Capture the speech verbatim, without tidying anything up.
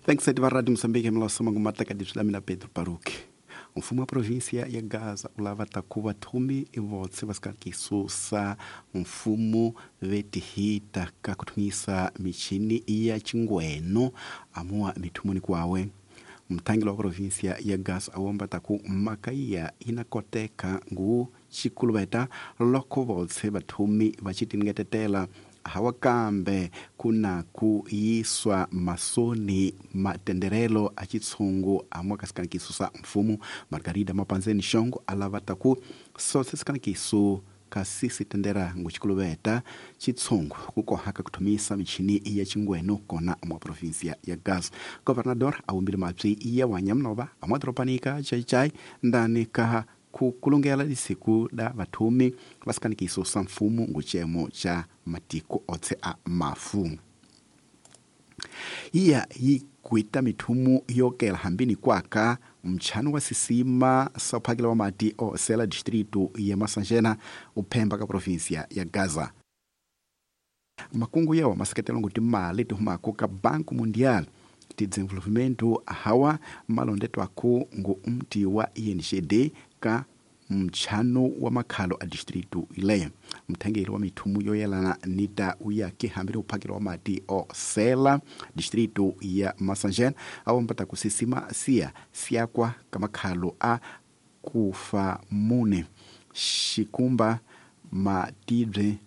Thanks va Radio Moçambique mlaso mangu mataka disla mina Pedro Paruque. Mfumo wa província ya Gaza ulava takuva thumi ivotse vasikakisusa mfumo vetihita ka kuthumisa michini ya chingweno amuwa mithumuni kwawe. Mthangeli wa província ya Gaza awomba taku makaiya inakoteka ngu chikuluveta loko votse vathumi vacitingetetela hawa kambe kuna ku yiswa masoni matenderelo a chitshungu amwa ka sikanikiso sa mfumo. Margarida Mapanzeni Xongo alava taku sose sikanikiso kasi sitendera ngu chikuluveta chitshungu kukohaka kuthumisa michini ya chingweno kona mwa província ya Gaza. Governador awumbile mapyi ya wanyamnova amwa doropanika chaichai ndani ka kukulungela lisiku da vathumi va sikanikiso sa mfumo ngucemo cha matiko otse a mafu. Iya yi kuita mithumu yokela hambini kwaka mchano wa sisima sa uphakela wa mati o sela distrito ya Masanjena uphemba ka província ya Gaza. Makungu yawa maseketelo nguti mali tihumako ka Banco Mundial ti desenvolvimento hawa malondetwaku ngu mti wa I N G D ka mchano wa makhalo a distrito ileyo. Mthengeli wa mithumu yoyelana nita uyake hambile uphakelo wa mati o sela distrito ya Masanjena awompata kusisima siya siyakwa kamakhalo a kufa mune xikumba matibye